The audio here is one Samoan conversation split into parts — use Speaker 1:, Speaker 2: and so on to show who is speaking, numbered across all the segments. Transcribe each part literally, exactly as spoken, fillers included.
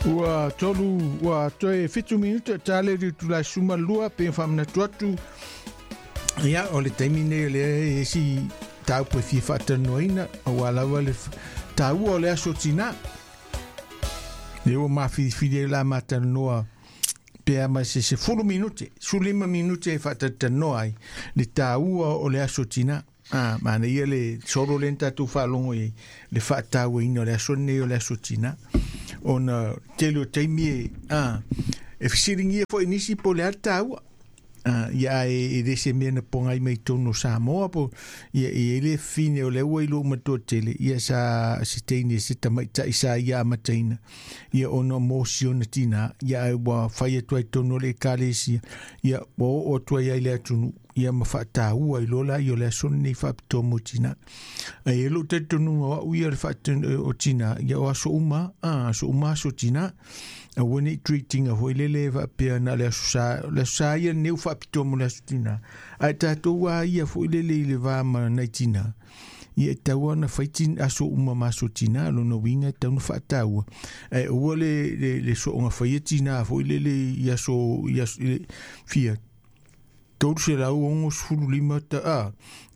Speaker 1: Ua tolu ua toe fitu minute tale ri tula suma lua pe whamnatu atu. Ia, o le taimi nei o le e si tau pe fia whaatanoina o lava le taua o le aso tina. Le ua mawhiriwhiri e la matanoa pe ama se se fulu minute, sulima minute e whaatatanoa ai le taua o le aso tina. Ah, mana ia le solo le tātou whaalongo i le whaataua ina o le aso nei o le aso tina. Ona tele o taimi e, ah, e whisiringia fo nisi po le ataua. Ah, ia e, e lese mea na pongai mai tonu Samoa po ia e le fine o le ua i lo matua tele ia sa se teine se tamaitai sa ia amataina ia ona mosi ona tina ia e ua whai atu ai tonu le ekalesia ia ua oo atu ai ai le atunu ia ma whaataua i lola i o le aso nei whaapitoa mo tina. Ai e lo te tonu o au ia le whaatonu o tina ia o aso uma, ah, aso uma aso tina. A wani treating a hoi lele whaapea na le aso sa, le aso sa ia neu whaapitoa mo le aso tina. Ai tātou a ia foi lele i le vā ma nei tina. Ia e tau ana whai tin aso uma ma aso tina, lona winga e tau na whaataua. Ai ua le, le, le soonga whai e tina foi lele i aso, i aso, i le, fia, tolu se lau ongo sefulu lima ta a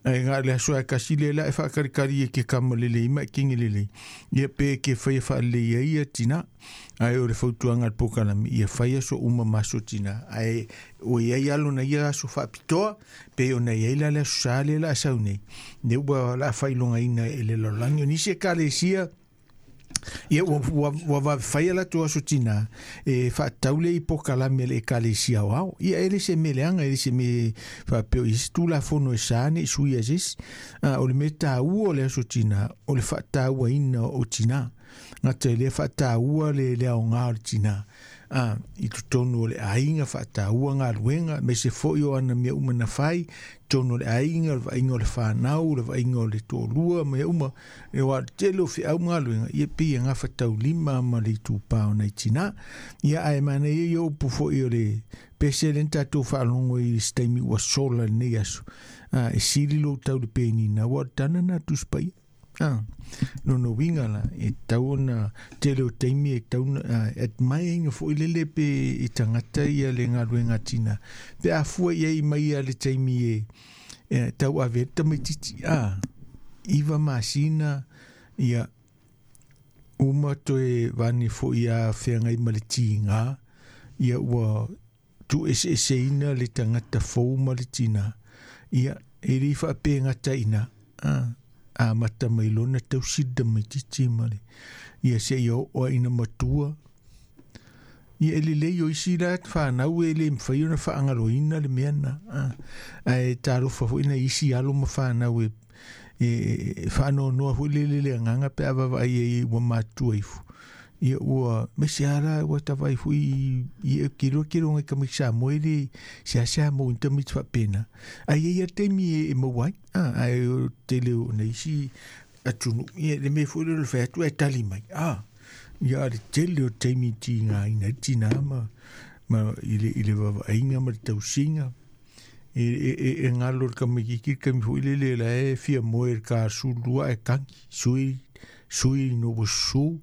Speaker 1: ai ngā le aso e kasi le la e whakarikari e ke kama lele ima e kingi lele ia pe ke whai wha le ia ia tina ai o le fautuanga le pokalami ia whai aso uma maso tina ai o ia ia alo na ia aso whaapitoa pe o na ia ila le aso sa le la asau nei ne ua la whailonga ina e le lolangi o nisi e kalesia ia ua ua ua va whai ala tu aso tina e whaataule i pokalame le ekalesia o ao. Ia ele se me leanga, ele se me whapeo i se la fono e sāne i sui asis. Uh, o le me tāua o le aso tina, o le whaataua ina o tina. Ngata le whaataua le le ao ngā o le tina. Uh, i totonu o le ainga whaataua ngā luenga, me se foi o ana mea uma na whai, tonu o le ainga, le vainga o le whanau, le vainga o le tōlua, mea uma, e wā tele o whiau ngā luenga, ia pia ngā whatau lima ma le tūpā o nei tina. Ia ai mana ia i opu foi o le pese le tātou whaalongo i steimi ua sola nei aso. Uh, e siri lo tau le pēnina, ua tana nā tuspaia. Ah, no no winga la e tau ona tele o taimi e tau na et mai inga fo lele pe i tangata ia le ngā tina pe a fua ia i mai ia le taimi e, e tau ave tamaititi a iwa masina ia uma toe vani fo ia whengai ma le tinga ia ua tu ese ese ina le tangata fou ma le tina ia e ri whape ngata ina ah a mata mai lona tau sida mai titi male ia se ia o ina matua ia ele le o isi la whanau e le mwhai ona whaangaloina le mea na ai talofa fo ina isi alo ma whanau e e whaanonoa fo le le le nganga pe awawa ai e ua matua ifu ia ua mese ara ua tawai fu i i kiro kiro ngai kami sa moe le se asa mo intamit fa pena ai ia temi e mo ai ah ai o tele o nei si atunu ia le me fu le fa tu e tali mai ah ia le tele o temi ti nga ina tina ma ma i le i le va ainga ma tausinga e e e ngalo kami ki kami fu le le la e fia moe ka sulua e kangi sui sui no su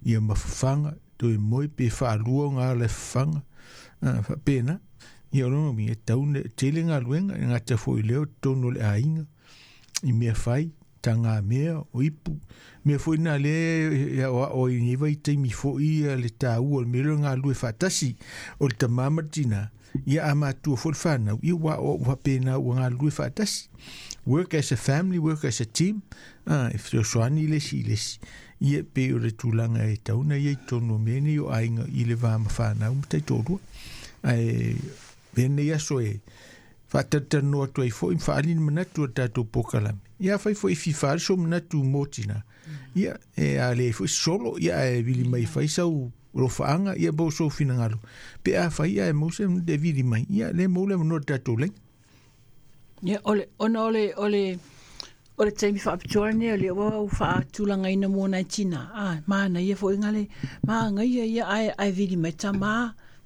Speaker 1: ia mafanga toi moi pe whaalua ngā le whanga ah pena ia rongo mi e tau tele ngā luenga ngā te fo i leo tonu le ainga i mea whai ta ngā mea o ipu mea fo ina le ia o o i niwa i teimi fo i le tāua le mea ngā lue whatasi o le tamama tina ia a mātua fo le whanau ia wa o wapena ua ngā lue whatasi work as a family, work as a team. Ah, e fesoasoani le si le si ia pe o le tulaga e tauna ia i tonu o mea nei o aiga i le va ma whanau ma taitolua ai venei aso e faatalatanoa atu ai foʻi ma faaali ni manatu o le tatou pokalame ia fai foʻi fifa le so manatu mo tina ia e a le foʻi solo ia e vili mai fai sau lofaaga ia po sou finagalo pe a fai ia e mose le vili mai ia le mo le manoa le tatou lai.
Speaker 2: Ia ole ona ole ole o le taimi faapitoa lenei o le ua u faatulagaina mo nai tina a mana ia foʻiga le maga ia ia ae ae vili mai tamā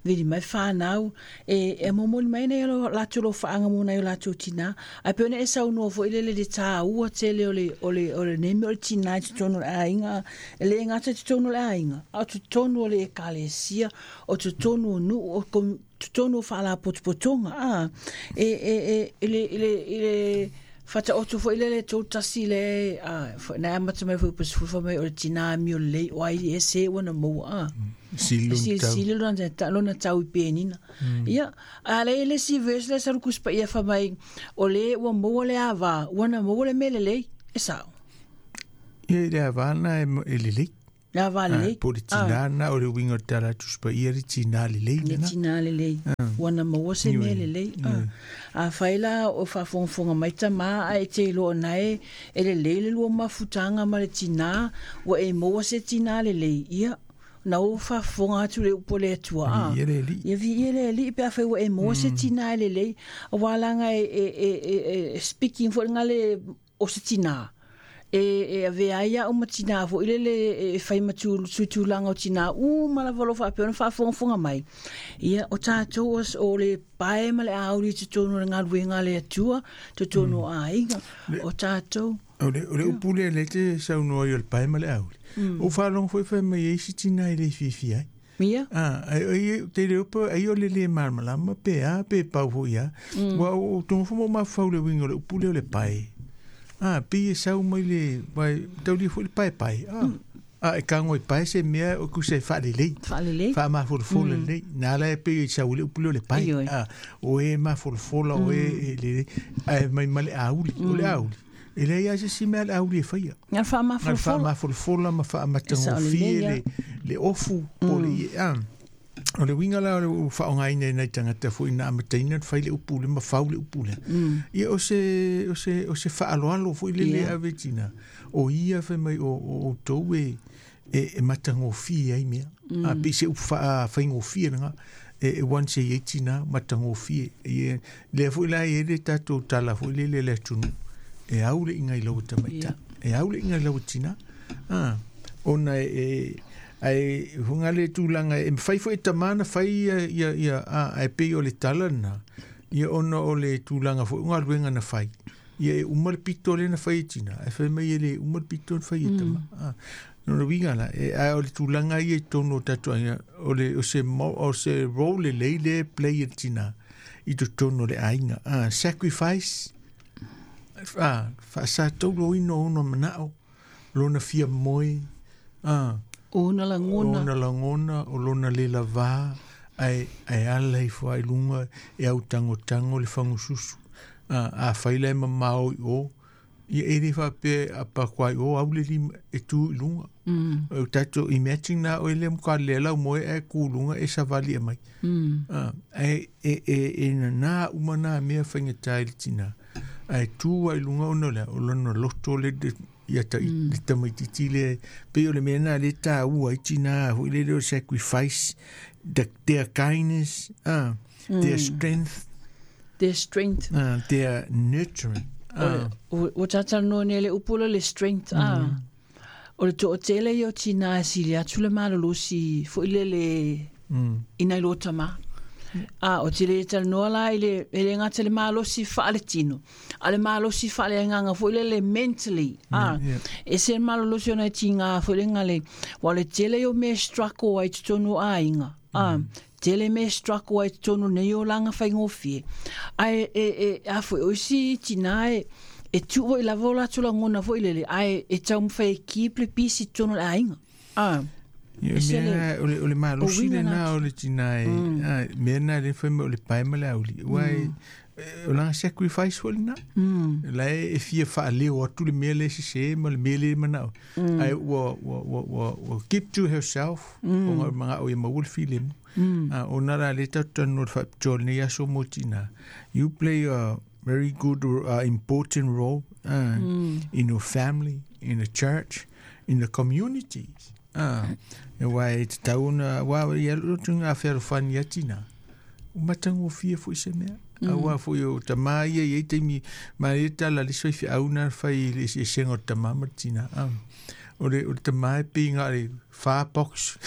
Speaker 2: Vili mai whanau, e, e momoli mai nei o lātou lo whaanga mo nei o lātou tina. Ai pe ona e saunoa foi le le tā ua tele o le, o le, o le nemi o le tina i totonu o le aiga, e le ngata i totonu o le aiga, a o totonu o le ekalesia, o totonu o nuu, o totonu o whaalapotopotoga. A, e, e, e, e le, e le, e le, Whata otu fo ile le tō tasi le, na amata mai fo pasifufa mai o le tina mi o le o ai e se wana maua. Sili lona tau i penina. Ia, a le le si verse le sarukus pa ia fa mai o le ua maua le ava, wana maua le mele lei, e sao.
Speaker 1: Ia le ava na e lelei.
Speaker 2: Le ava lelei.
Speaker 1: Po le tina na o le winga tala tuspa ia le tina lelei.
Speaker 2: Le tina lelei. Wana maua se mele lelei. A whaila o whaafongafonga mai tama a e te iloa nae e le lei le lua mafutanga ma le tina ua e maua se tina lelei. Ia, na o whaafonga atu le upo le atua.
Speaker 1: Ia le li.
Speaker 2: Ia vi ia le li pe a whai ua e maua se tina lelei. A wālanga e, e, e, e speaking fo nga le o se tina. E e ave ai o matina fo ile le e fai matu tulanga o tina u mala valo fa pe ona faafogafoga mai ia o tatou o le pae ma le auli totonu o le galuega le Atua totonu o aiga o tatou
Speaker 1: o le o le upu lea le te saunoa i o le pae ma le auli o faalogo foi fai mai ai si tina i le fiafia ai.
Speaker 2: Ia.
Speaker 1: Ah, ai te le upu ai o le le malamalama pe a pe pau foi a ua o tonga fo mo mafau le uiga o le upu lea o le pae. Ah, pi e sau mai le vai tauli foi le pae pae. Ah, ah e kango i pae se mea o ku se whaalelei.
Speaker 2: Whaalelei.
Speaker 1: Wha mafolofola lelei. Nā la e pe i sau le upu leo le pae. Ah, o e mafolofola o e lelei. Ai mai ma le auli, o le auli. E lei a se si mea le auli e whaia.
Speaker 2: Ngā wha mafolofola.
Speaker 1: Ngā wha mafolofola ma wha matangofie le, le ofu po le ie. Ah. O le winga la o le whaongaina i nei tangata fo ina amataina whai le upu le mawhau le upu le. Ia o se, o se, o se whaaloalo fo i le le ave tina. O ia whai mai o, o, o tau e, e, e matangofie ai mea. A pe se upu wha, whaingofie nga. E, e wan se i tina matangofie. E, lea fo i la e le tātou tala fo i le le le tunu. E au le inga i lau tamaita. E au le inga i lau tina. Ah, ona e, e ai hunga le tūlanga e whai fo e tamana whai ia ia ia a ai pe o le tala na ia ona o le tūlanga fo unga luenga na whai ia e uma le pito le na whai e tina e whai mai e le uma le pito na whai e tama a no le winga la e a o le tūlanga ia i tono tatu ia o le o se mo o se role le le play e tina i to tono le ainga a sacrifice a fa sa tolo ino ono manao lona fia moi a
Speaker 2: o na langona
Speaker 1: o na langona o lona le lava ai ai ala i fo ai lunga e au tango tango le fangususu a a faile mamao o ia e le fa pe a pa kwai o au le e tu lunga o tato imagine na o le mka le la mo e ku lunga e savali mai a e e e na umana me fainga tai tina ai tu ai lunga ono le o lona loto le ia ta i tamaititi le pe o le mea na le tāua i tina hui le leo sacrifice the, their kindness uh, mm. their strength
Speaker 2: their strength
Speaker 1: uh, their nurturing
Speaker 2: uh. o, o tātanoa ne le upula le strength mm. ah. O le to'atele ia o tina e sili atu le malolosi fo'i le le mm. ina i lo tama. A o te le talanoa la i le e le gata le malosi faaletino a le malosi faaleagaga fo'i le le mentally a e se malolosi ona e tiga fo'i le gale ua le tele o mea struggle ai totonu aiga a tele mea struggle ai totonu nei o laga faigofie ae e e a fo'i o isi tina e e tuu fo'i lava o latou lagona fo'i lele ae e taumafai e keep le pisi totonu o le aiga a
Speaker 1: Ia mea o le o le malosi le na o le tina e mea na le fai o le pae ma le auli ua e o langa sacrifice foi na la e fia faaleo atu le mea le sese ma le mea le manao ai ua ua ua ua keep to herself o ngā mga o ia maua le filemu o nā la le tau no le faapitoa lenei aso mo tina. You play a very good uh, important role uh, in your family, in the church, in the communities. Ah, e wai te tauna, wā ia roto ngā whearofani a tina. O matango fia fo i se mea. A wā fo i o tamā ia i teimi, ma e tala le soi whiauna whai le se senga o tamā ma tina. Ah. O le o le tamai pinga le fa box.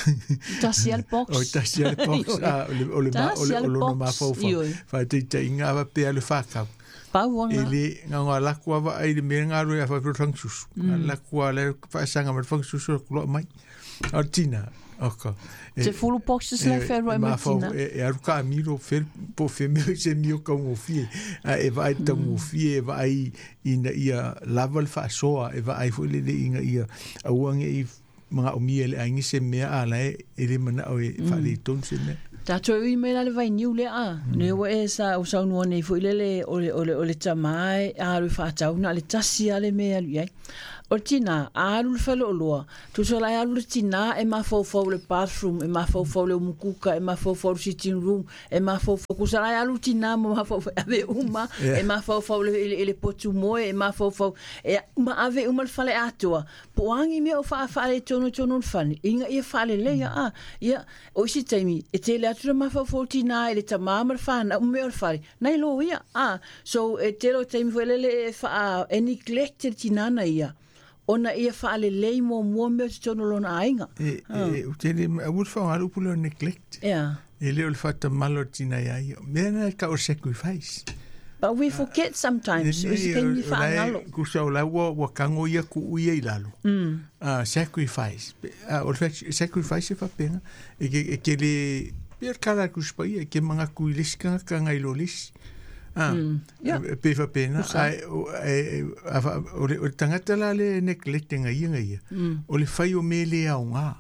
Speaker 2: Tasi al box.
Speaker 1: O tasi al box. Ah, o le o le ma o le o lona mafaufau. Faataitaiga a faapea le fakau.
Speaker 2: Pauanga.
Speaker 1: E le gaga laku ava ai le mea galue a faapea fagasusu. Laku a le faasaga ma le fagasusu le kuloa mai. A o le tina. Oka.
Speaker 2: Te fulu boxes le whenua e mai tina.
Speaker 1: E alu ka amiro fe po fe me se mio ka ngofie. E vaai taugofie e vaai ina ia lava le faasoa e vaai foi le le ina ia aua nei magaomia le aiga se mea a lae e le manao e faaletonu se mea.
Speaker 2: Tātou ui mai la le vainiu lea a. Ne ua e sa o saunua nei foi lele o le, o le, o le tamai a alu whaatau na le tasi a le mea alu iai. O le tina, a alu le whaleoloa. Tusa lai alu le tina e mafaufau le bathroom, e mafaufau le umukuka, e mafaufau le sitting room, e mafaufau. Kusa lai alu tina ma mafaufau ave uma,
Speaker 1: Yeah.
Speaker 2: e mafaufau le, le, le potu moe, e mafaufau. E ma ave uma le fale atoa. Po angi mea o wha whaale tono tono le fane. Inga ia whaale leia a. Ia, o isi taimi, e tele atu le mafaufau tina e le tamā ma le whana, mea o le fale. Nei lo ia, a. So, e tele o taimi foi lele e wha, e neglect le tinana ia. Ona ia whaalelei mua mua mea o te tono lona aiga.
Speaker 1: E e o tele a ua faaaoga le upu lea o neglect.
Speaker 2: Yeah.
Speaker 1: E le o le faatamala o le tina iā ia. Mea na e tau o le sacrifice.
Speaker 2: But we forget sometimes. O isi taimi whaangalo.
Speaker 1: Kusa o la ua ua kago ia ku'u ia i lalo.
Speaker 2: Mm.
Speaker 1: Ah, sacrifice. Ah, o le sacrifice e faapega. E ke e ke le pe o le kala atu sipaia e ke magaku i le isi kagakaga i lo le isi. Ah,
Speaker 2: Mm. Yeah.
Speaker 1: pe faapena
Speaker 2: Usa.
Speaker 1: ai o e a fa- o le o le tagata la le neglectinga ia ga ia.
Speaker 2: Mm.
Speaker 1: O le fai o mea le aoga.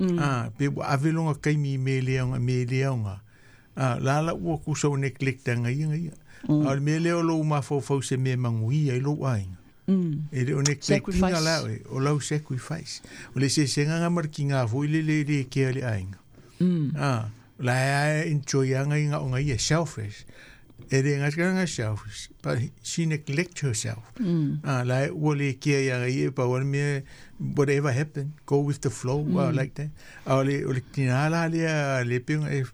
Speaker 2: Mm.
Speaker 1: Ah, pe ua ave loga kaimi i mea le aoga mea le aoga. Ah, la la ua kusa o neglectanga ia ga ia.
Speaker 2: Mm.
Speaker 1: A o le mea lea o lou mafaufau se mea maguia i lou aiga.
Speaker 2: Mm.
Speaker 1: E le o neglectinga
Speaker 2: Sacrifice.
Speaker 1: la oe, o lau sacrifice. O le sesega ma le kiga foi le le le kea le aiga.
Speaker 2: Mm.
Speaker 1: Ah, la e enjoy anga inga o ia selfish. E le ngā selfish, but she neglect herself.
Speaker 2: Mm.
Speaker 1: Ah, la ua le kea ia ia pa o le mea whatever happen, go with the flow, mm. uh, like that. A o le o le tina la lea le penga e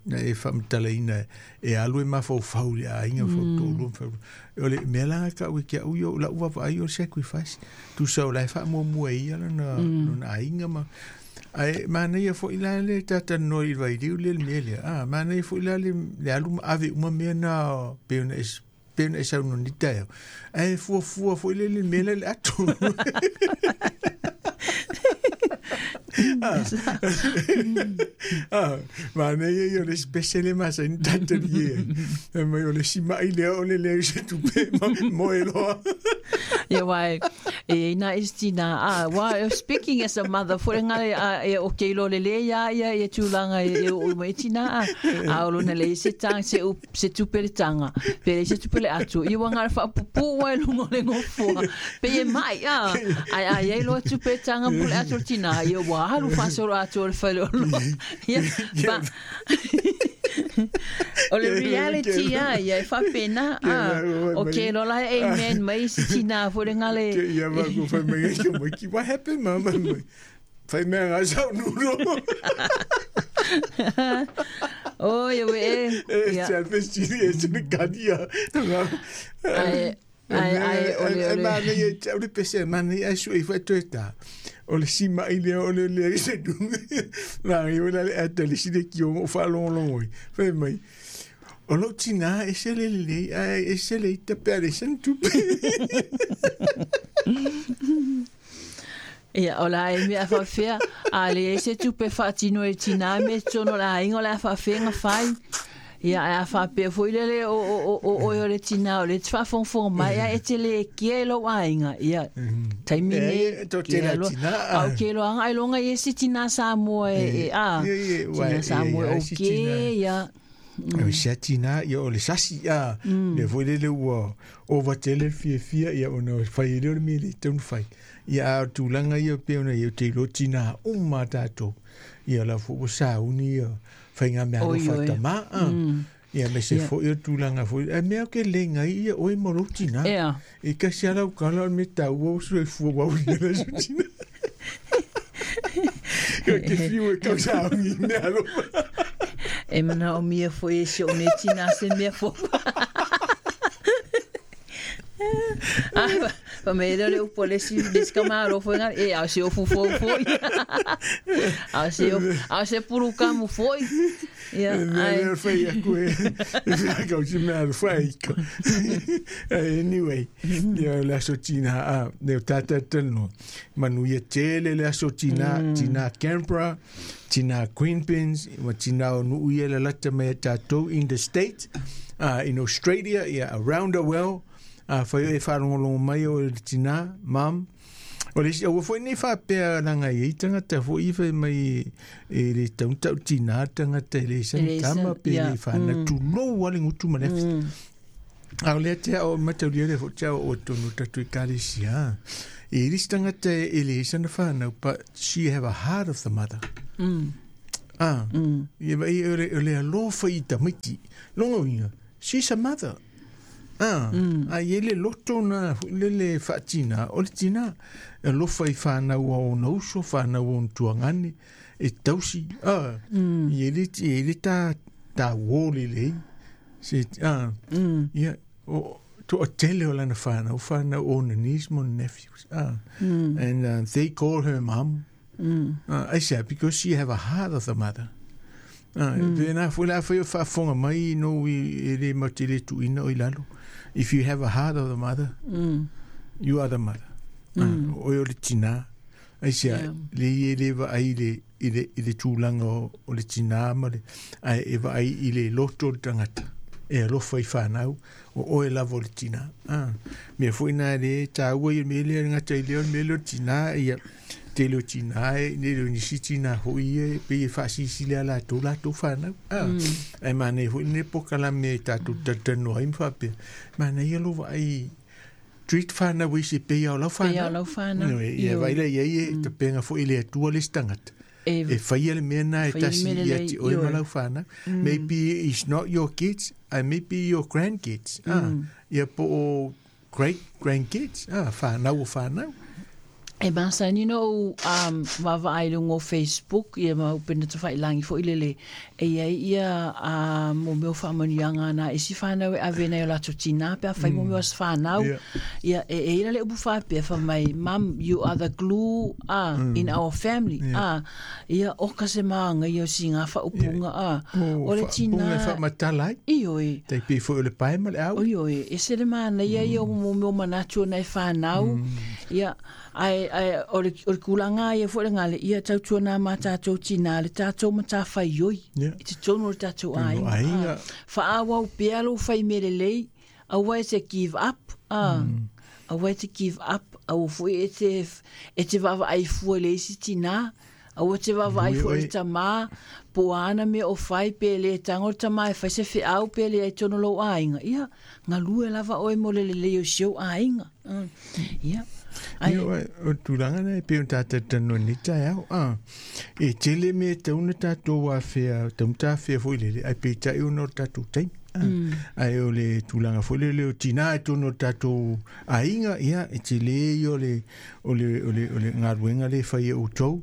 Speaker 1: na e faamatalaina e alu e mafaufau le aiga fautolu o le mea laga ka'u i ke a'u ia o la'u vavaai o le sacrifice tusa o lae faamuamua ai ia lona lona aiga ma ae manaia fo'i la le tatalanoa i le vailiu lea le mea lea a manaia fo'i la le le alu ma ave uma mea na pe ona e pe ona e saunoni taeao ae fuafua fo'i le le mea lea le ato. Ah, manaia ia o le special e masani tatali e mai o le sima'i lea o le lea i se tupe mo e loa.
Speaker 2: Ia wai, e ina isi tina, ah, wa, speaking as a mother, fo ngale a e o ke lo le le ia ia e tūlanga e o mai tina a, a o lona le se tang se u se tupe le tanga, pe le se tupe le atu, i wa ngale whaapupu wa e lungo le ngofua, pe e mai a, ai ai ai lo tupe tanga pu le atu le tina, ia wa halu whasoro atu o le whale o lo. Ia, ba, o le reality a, ia e whapena a, o ke lo la amen mai isi tina fo le ngale.
Speaker 1: Ke ia ma ko fai mai ke mai ki what happened mama mai. Fai mea ngā sau nuro.
Speaker 2: O ia we e.
Speaker 1: E
Speaker 2: Ia.
Speaker 1: se alfestini e se ne kadia.
Speaker 2: Ai ai ai o le o
Speaker 1: E
Speaker 2: le.
Speaker 1: manaia i te au le pese manaia ai sui fa toe ta. O le sima'i lea o le lea i se dume. La i o la le ata le sile ki o o whaalongolongo i. Fai mai. O lou tina e se le lelei ae e se le ita pe a le sana tupe.
Speaker 2: Ia, o la e mea whawhea, a le e se tupe whaatino e tina me tono la ingo la whawhea ngā whai. Ia, a whapea foi lele o o o o o o le tina o le twhafonfong mai a e te le kia e lo ainga. Ia, taimi
Speaker 1: E,
Speaker 2: nei.
Speaker 1: to te la tina,
Speaker 2: A o ke lo anga ai longa i se tina Samoa e, e a.
Speaker 1: Ia, ia, wai,
Speaker 2: Tina Samoa
Speaker 1: ia, ia,
Speaker 2: o
Speaker 1: si
Speaker 2: ke,
Speaker 1: tina.
Speaker 2: ia.
Speaker 1: Mm. Sia tina ia o le sasi a le foi le ua o vatele fiafia ia ona fai le o le mea le tau fai ia a tulaga ia pe ona ia te ilo tina uma tatou ia la fo sauni ia faiga mea
Speaker 2: Oi,
Speaker 1: alofa
Speaker 2: oi.
Speaker 1: tamā a ia me se
Speaker 2: Ia.
Speaker 1: fo'i o tulaga foi e mea ke legai ia oe ma lou tina
Speaker 2: Ia.
Speaker 1: e kasi ala ukala o le me taua o soifua uauina le aso tina. Ia ke fiu e kausauni i mea alofa.
Speaker 2: E mana o mia foi e se o ne tina se mea fo. Pa me le upu le si le si kamalo foi nga e a se ofu foi foi. A se a se puru kamu foi. Ia
Speaker 1: ai le foi a ku e ka si me al foi. Anyway, ia le aso tina a le tata tano. Manu ia tele le aso tina tina Canberra, tina Queenpins, wa tina o nu ia le lata me tatou in the state, uh, in Australia, yeah, around the world. A fai e whalongolongo mai o le tina, mam. O le isi, o foi nei whapea langa i tangata foi i whai mai e le tauntau tina tangata e le san tama pe le whana tulou ale ngutu manefi. A o lea tea o mataulia le fo tea o tonu tatu i karesia. E ris tangata e le sana whanau, but she have a heart of the mother.
Speaker 2: Mm.
Speaker 1: Ah, ia vai o le alofa i tamiti. Longa uinga, she's a mother. Ah, mm. A ie le loto na le le whaatina, o le tina, e lofa i whanau o na uso, whanau o tuangane, e tausi, ah, mm. Ie le, ie le tā, tā wōle le, se, ah,
Speaker 2: mm.
Speaker 1: Ia, o, to a tele o lana whanau, whanau o na niece mo nephews, ah,
Speaker 2: mm.
Speaker 1: And uh, they call her mum,
Speaker 2: mm.
Speaker 1: uh, I said, because she have a heart of the mother. Ah,
Speaker 2: mm.
Speaker 1: Pena foi la foi whaafonga mai no i le matele tuina o i lalo. If you have a heart of the mother,
Speaker 2: mm.
Speaker 1: you are the mother.
Speaker 2: Mm.
Speaker 1: Ah, o le tina. Ai sia,
Speaker 2: yeah.
Speaker 1: Le i le va ai le i le i le tūlanga o, o le tina ma le ai e va ai i le loto o le tangata. E alofa i whanau o oe lava o le tina. Ah, mea foi nā le tāua i me le ngata i le o me le tina ia te leo tina e ne leo nisi tina hoi e pe e whaasisi lea la tō la tō whanau. Ah,
Speaker 2: mm.
Speaker 1: Ai mana e hoi ne poka la me tātou tatanoa i mwhapea. Mana ia lova ai treat whanau i se pe au lau whanau.
Speaker 2: Pe au lau whanau.
Speaker 1: Ia vaila ia ia te penga fo i le atua le stangata.
Speaker 2: E,
Speaker 1: e whaia le mea nā e tasi ia te oi ma lau whanau.
Speaker 2: Mm.
Speaker 1: Maybe it's not your kids, and maybe your grandkids.
Speaker 2: Mm.
Speaker 1: Ah, ia po o great grandkids. Ah, whanau o whanau.
Speaker 2: E masani no um vava ai lungo Facebook ia mau pena te whailangi fo ilele e ia ia a mo meo whaamanianga na e si whanau e ave nei o lato tina pe a whai mo meo as whanau
Speaker 1: Yeah.
Speaker 2: ia e e ila le upu whapea wha mai mum you are the glue ah
Speaker 1: Mm.
Speaker 2: in our family
Speaker 1: Yeah.
Speaker 2: ah ia o ka se maanga ia si ngā whaupunga ah
Speaker 1: O
Speaker 2: o le tina
Speaker 1: Punga e whaamatala ai.
Speaker 2: ioi
Speaker 1: Te pe fo o le pae ma le au.
Speaker 2: Oi oi, e se le mana ia ia o mo meo manatu na e whanau. Ia, ai, ai, o le, o le kulanga ia fo le ngale, ia tautua nā mā tātou tina, le tātou ma tā whai oi.
Speaker 1: Yeah.
Speaker 2: I te tonu o le tātou
Speaker 1: Tonu
Speaker 2: aiga.
Speaker 1: aiga.
Speaker 2: Ah, Whaawau pea lo whai mere lei, aua e te give up. Ah.
Speaker 1: Mm.
Speaker 2: Aua e te give up, aua fo e te, e te wawa ai fua le isi tina. Aua te wawa ai
Speaker 1: Ui,
Speaker 2: fua
Speaker 1: oi.
Speaker 2: le tamā, po ana me o whai pe le tango le tamā e whai se whiau pe le ai tono lou aiga. Ia, ngā lue lava oe mo le le leo sio aiga. Mm. Ia. Ai,
Speaker 1: Ia, o tūranga nei, pe o tātou tano ni tai au. Ah, e tele me tauna tātou wāwhea, tauna tāwhea fo i lele, ai pe tai ono tātou taimi. Ah,
Speaker 2: mm.
Speaker 1: Ai o le tūlanga fo lele o tina e tono tātou ainga, ia, e tele i o le, o le, o le, o le ngāruenga le whai e o tau.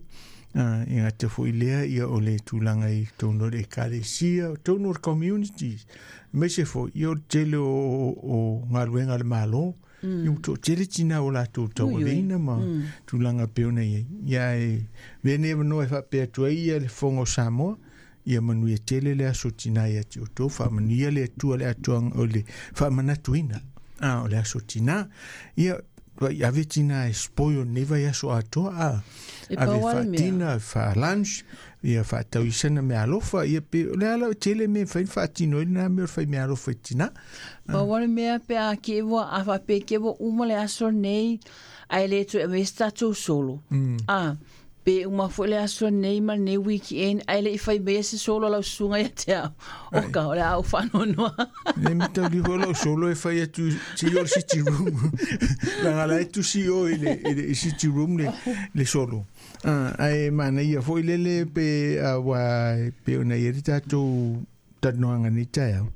Speaker 1: Ah, i ngā te fo i lea, ia o le tūlanga i tono le ekalesia, tono le communities. Me se fo, i o tele o, o, o ngāruenga le malo,
Speaker 2: Mm.
Speaker 1: I o tele tina o lātou tau
Speaker 2: Ui, ui.
Speaker 1: aveina ma
Speaker 2: Mm.
Speaker 1: tūlanga peona ia. Ia e vene no e whapea tua ia le fongo Samoa, ia manuia tele le aso tina ia te o tō, whaamanuia le atua le atuang o le whaamanatuina. Ah, o le aso tina, ia i ave tina e spoil neva i aso atoa, ah.
Speaker 2: E
Speaker 1: Ave
Speaker 2: pau ale mea.
Speaker 1: whaatina, wha lunch, ia whaatauisana me alofa, ia pe, o le ala o tele me whain whaatino i nā me o whai me alofa i tina.
Speaker 2: Pau ale mea pe a ke wa a wha pe ke wa uma le aso nei, ai le tu e me tātou solo.
Speaker 1: Mm.
Speaker 2: Ah, pe uma fo le aso nei ma nei weekend, ai le i whai mea se solo lau sunga ia te au. Oka, o le au whanonoa.
Speaker 1: Ne me tau liho lau solo e whai atu si o le city room. Langa la e tu si o i le, i le i city room le, le solo. Ah, ai mana ia fo i lele pe a wa pe ona ia te tātou tanoanga ni tai au.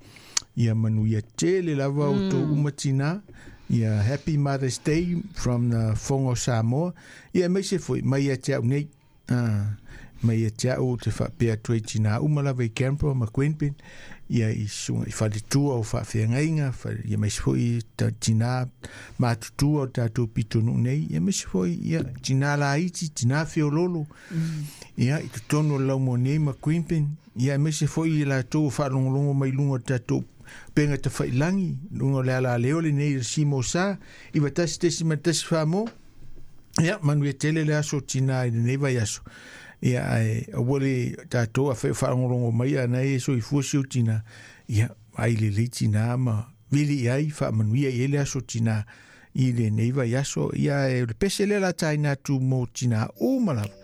Speaker 1: Ia manu ia tele lava o tō umatina. Ia Happy Mother's Day from the Fongo Samoa. Ia mai se foi, mai ia te au nei. Ah, Mai ia te au te whaapea atu ai tina uma lava i Canberra ma Queanbeyan, ia i suga i faletua o faafeagaiga, ia maise foʻi tinā matutua o tatou pitonuu nei, ia maise foʻi ia tinā laiti, tinā feololo, ia i totonu o le laumua nei ma Queanbeyan, ia maise foʻi i latou o faalogologo mai luga o tatou pega tafailagi luga o le alaleo lenei le simo sa iva tasi tesima tasi famo. Ia manuia tele le aso tinā i lenei vaiaso. Ia ae aua le tatou afai o faalogologo mai ana e soifua si ou tinā, ia ai lelei tinā ma vili i ai faamanuia i ai le aso tinā i lenei vaiaso. Ia e o le pese lea la taina atu mo tinā uma lava.